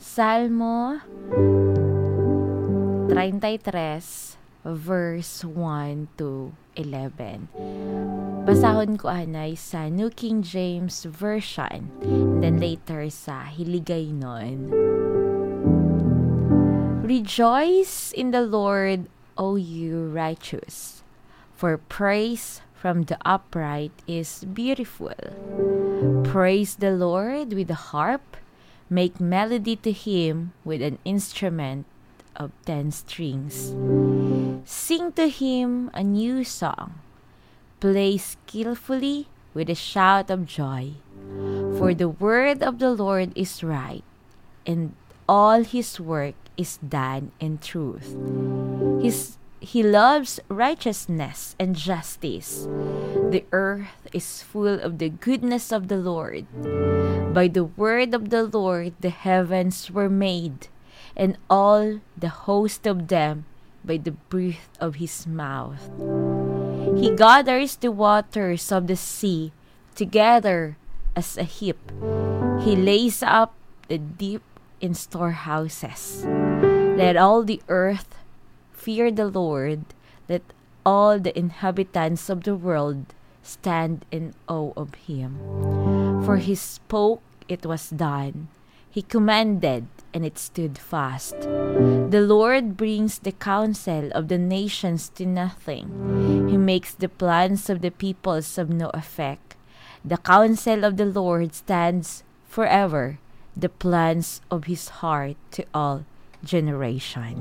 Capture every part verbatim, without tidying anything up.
Salmo treinta y tres, verse one to eleven. Basahon ko anay sa New King James Version, and then later sa Hiligaynon. Rejoice in the Lord, O you righteous, for praise from the upright is beautiful. Praise the Lord with the harp, make melody to him with an instrument of ten strings. Sing to him a new song, play skillfully with a shout of joy. For the word of the Lord is right, and all his work is done in truth. His, he loves righteousness and justice. The earth is full of the goodness of the Lord. By the word of the Lord the heavens were made, and all the host of them by the breath of his mouth. He gathers the waters of the sea together as a heap. He lays up the deep in storehouses. Let all the earth fear the Lord. Let all the inhabitants of the world stand in awe of him. For he spoke, it was done. He commanded, and it stood fast. The Lord brings the counsel of the nations to nothing. He makes the plans of the peoples of no effect. The counsel of the Lord stands forever, the plans of his heart to all generation.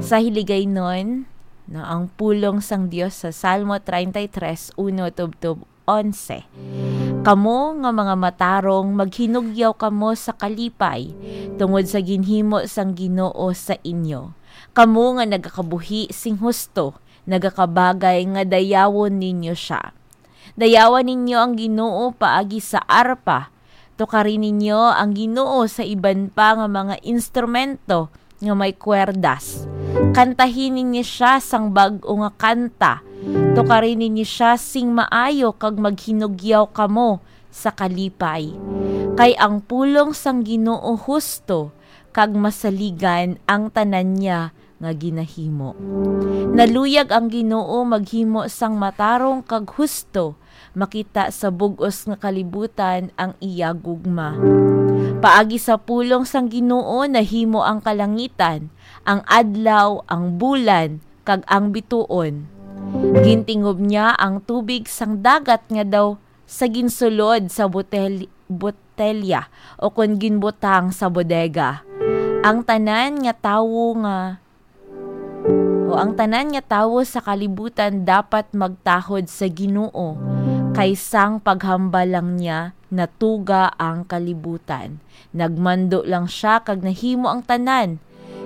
Sa Hiligaynon, no, ang pulong sang Dios sa Salmo treinta y tres, uno tubtob onse. Kamo nga mga matarong, maghinugyaw kamo sa kalipay tungod sa ginhimo sang Ginoo sa inyo. Kamo nga nagakabuhi sing husto, nagakabagay nga dayawon ninyo sia. Dayawan ninyo ang Ginoo paagi sa arpa. Tukari ninyo ang Ginoo sa iban pa nga mga instrumento nga may kwerdas. Kantahi ninyo sia sang bag-o nga kanta. Tukari ninyo sia sing maayo kag maghinugyaw kamo sa kalipay. Kay ang pulong sang Ginoo husto, kag masaligan ang tanan niya nga ginahimo. Naluyag ang Ginoo maghimo sang matarong kag husto, makita sa bug-os nga kalibutan ang iya gugma. Paagi sa pulong sang Ginoo nahimo ang kalangitan, ang adlaw, ang bulan, kag ang bituon. Gintingob niya ang tubig sang dagat nga daw sa ginsulod sa botel-, botelya, o kon ginbutang sa bodega. Ang tanan nga tawo nga, o ang tanan nga tawo sa kalibutan dapat magtahod sa Ginoo, kay sang paghambal lang niya natuga ang kalibutan. Nagmando lang sia kag nahimo ang tanan.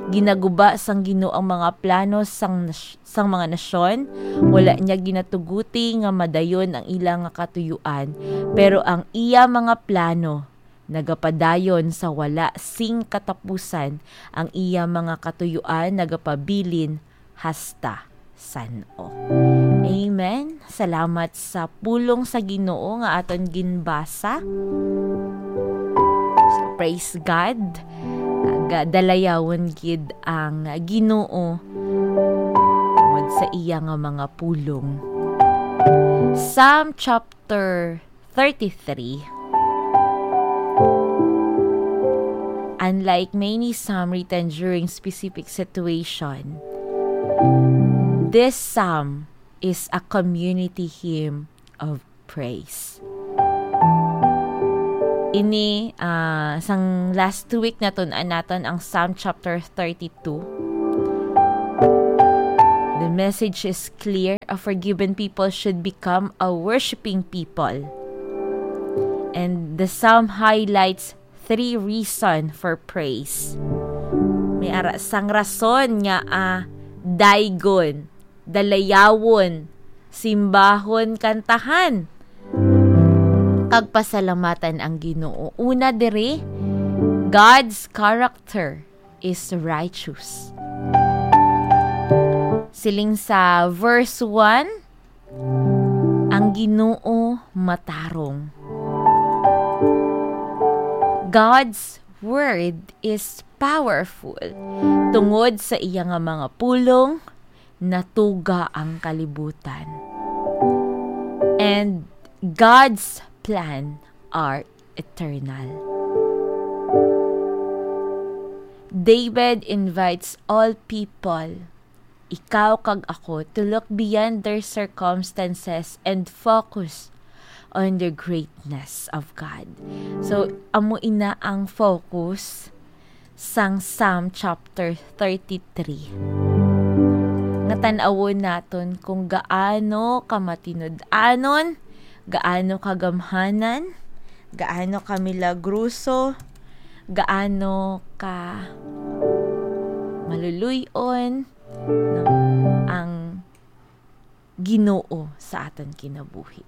Ginaguba sang Ginoo ang mga plano sang nas-, sang mga nasyon. Wala niya ginatuguti nga madayon ang ila nga katuyuan, pero ang iya mga plano nagapadayon sa wala sing katapusan. Ang iya mga katuyuan nagapabilin hasta san-o. Amen. Salamat sa pulong sa Ginoo nga aton ginbasa. So, praise God. Kag dalayawon gid ang Ginoo tungod sa iya nga mga pulong. Psalm chapter thirty-three. Unlike many psalm written during specific situation, this psalm is a community hymn of praise. Ini, ah, sang last two week natun-an naton ang Psalm chapter thirty-two. The message is clear. A forgiven people should become a worshiping people. And the psalm highlights three reason for praise. May ara sang rason nga, ah, daygon, dalayawon, simbahon, kantahan, kag pasalamatan ang Ginoo. Una diri, God's character is righteous. Siling sa verse one, ang Ginoo matarong. God's word is powerful. Tungod sa iya nga mga pulong, natuga ang kalibutan. And God's plan are eternal. David invites all people, ikaw kag ako, to look beyond their circumstances and focus on the greatness of God. So, amo ina ang focus sang Psalm chapter thirty-three. Nga tan-awon naton kung gaano ka matinud-anon, gaano ka gamhanan, gaano ka milagruso, gaano ka maluluy-on, no, ang Ginoo sa aton kinabuhi.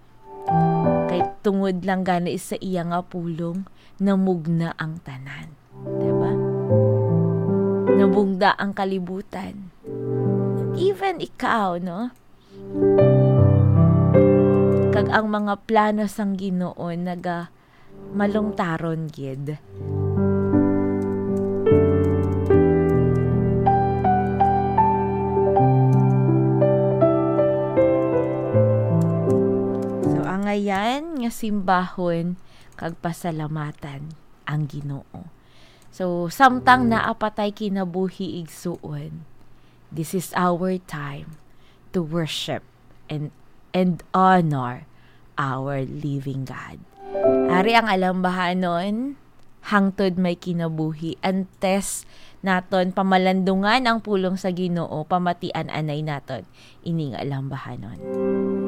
Kay tungod lang gani sa iya nga pulong, namugna ang tanan. Diba? Namugna ang kalibutan. Even ikaw, no? Kag ang mga plano sang Ginoo naga malungtaron gid. So, angayan nga simbahon kag pasalamatan ang Ginoo. So, samtang naa pa tay kinabuhi, igsuon, this is our time to worship and, and honor our living God. Ari ang alambahanon, hangtod may kinabuhi, antes naton pamalandungan ang pulong sa Ginoo, pamatian anay naton ining alambahanon.